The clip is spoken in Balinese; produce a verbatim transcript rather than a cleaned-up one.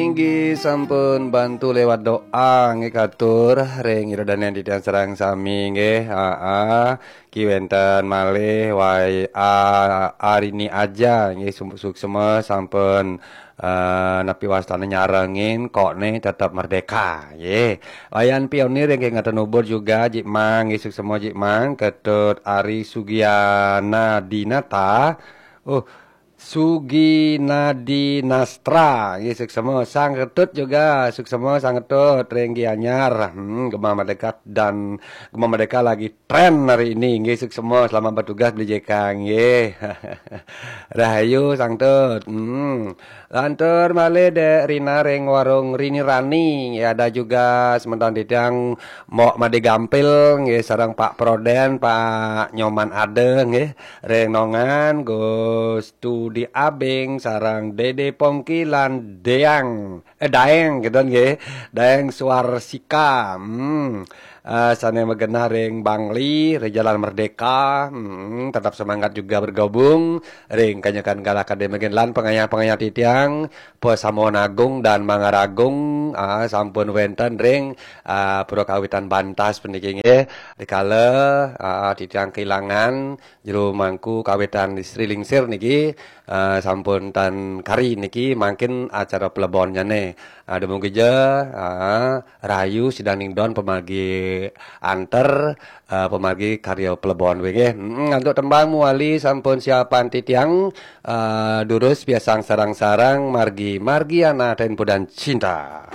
Inggih sampun bantu lewat doa nggih katur ring ida dané titiang sareng sami nggih. Aa, ki wénten malih wai a, Arini Aja nggih sum- suksma sampun eh, napi wastané nyarengin kok né tetep merdeka nggih. Wayan Pionir nggih ngaten ubur juga Jik Mang nggih suksma Jik Mang Ketut Ari Sugiana Dinata. Uh, Suginadi Nastra, nggih suksma Sang Ketut juga, suksma Sang Ketut ring Gianyar. Hmm, Gema Merdeka dan Gema Merdeka lagi tren hari ini, nggih suksma selamat bertugas beli J K nggih. Rahayu Sang Tut. Hmm. Lantur malih Dek Rina ring warung Rini Rani, nggih ada juga semeton titiang Mok Made Gampil nggih sareng Pak Proden, Pak Nyoman Ade nggih. Ring Nongan, Gus Tudi Abing, sareng Dede Pongki lan Deang, eh Daeng gitu nggih. Daeng Suarsika. Hmm. Eh, sané magenah ring Bangli, ring Jalan Merdeka. Hmm, tetap semangat juga bergabung ring kanyekan galah kadé mangkin lan pangayah-pangayah titiang, Pasamuan Agung dan Mangaragung, ah, sampun wénten ring ah, Pura Kawitan Bantas puniki nggih. Dikala ah, titiang kehilangan jero mangku kawitan Sri Lingsir niki eh, sampun tan kari niki mangkin acara plebonnyané. Ah, dumugi ja ah, rahayu sida ning don pamargi anter eh, pamargi karya plebon wé nggih. Mm, antuk tembang muali sampun siapan titiang eh, durus piasang sarang-sarang margi margi ana tempo dan cinta.